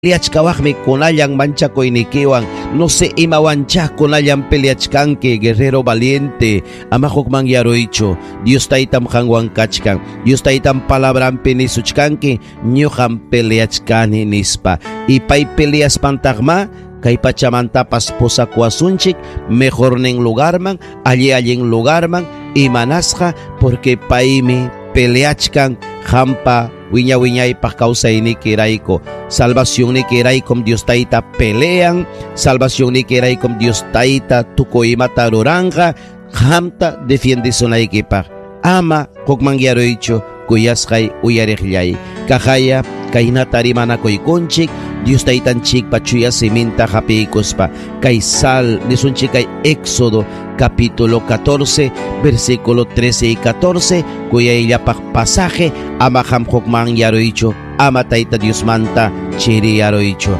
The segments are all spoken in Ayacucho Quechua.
Peleachkawaqmi kunallan manchakuynikiwan, no sé imawanchá kunallan peleachkanki, guerrero valiente, ama hukmanyaruychu. Dios taytam qanwan kachkan, Dios taytam palabranpi nisuchkanki, ñuqam peleachkani nispa. Y pay peleaspantaqma kay pachamantapas pusakuwasunchik mejornin lugarman, alli allin lugarman, imanasqa, porque paymi peleachkan qampa wiña wiñaypaq kawsaynikirayku, salvacionnikiraykum Dios tayta pelean, salvacionnikiraykum Dios tayta tukuy imata ruranqa, qamta defiendisunaykipaq. Ama hukmanyaruychu kuyasqay uyariqllay. Kaqaya kaynata rimanakuykunchik, Dios taytanchikpa chuya siminta hapiykuspa. Kay sal nisunchik kay Éxodo capítulo 14, versículo 13 y 14, kuyayllapaq pasaje, ama qam hukmanyaruychu, ama tayta Diosmanta chiriyaruychu.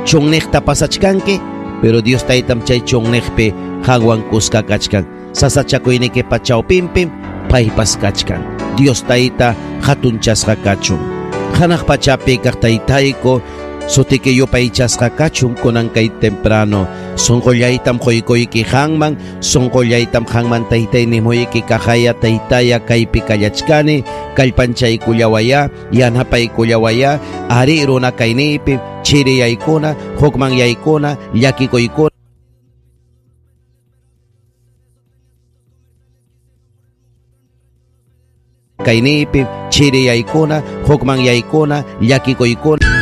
Chunniqta pasachkanki, pero Dios taytam chay chunniqpi qanwan kuska kachkan. Sasachakuynikipa chawpinpim paypas kachkan. Dios tayta hatunchasqa kachun. Hanaq pachapi kaq taytayku, sutiki yupaychasqa kachun kunan kay temprano. Sunqullaytam quykuyki qanman, sunqullaytam qanman taytay nimuyki kaqaya taytaya kaypi kallachkani, kallpanchaykullawaya, yanapaykullawaya, ari runa kayniypi, chiriyaykuna, hukmanyaykuna, llakikuykuna. Kayniypi, chiriyaykuna, hukmanyaykuna, llakikuykuna.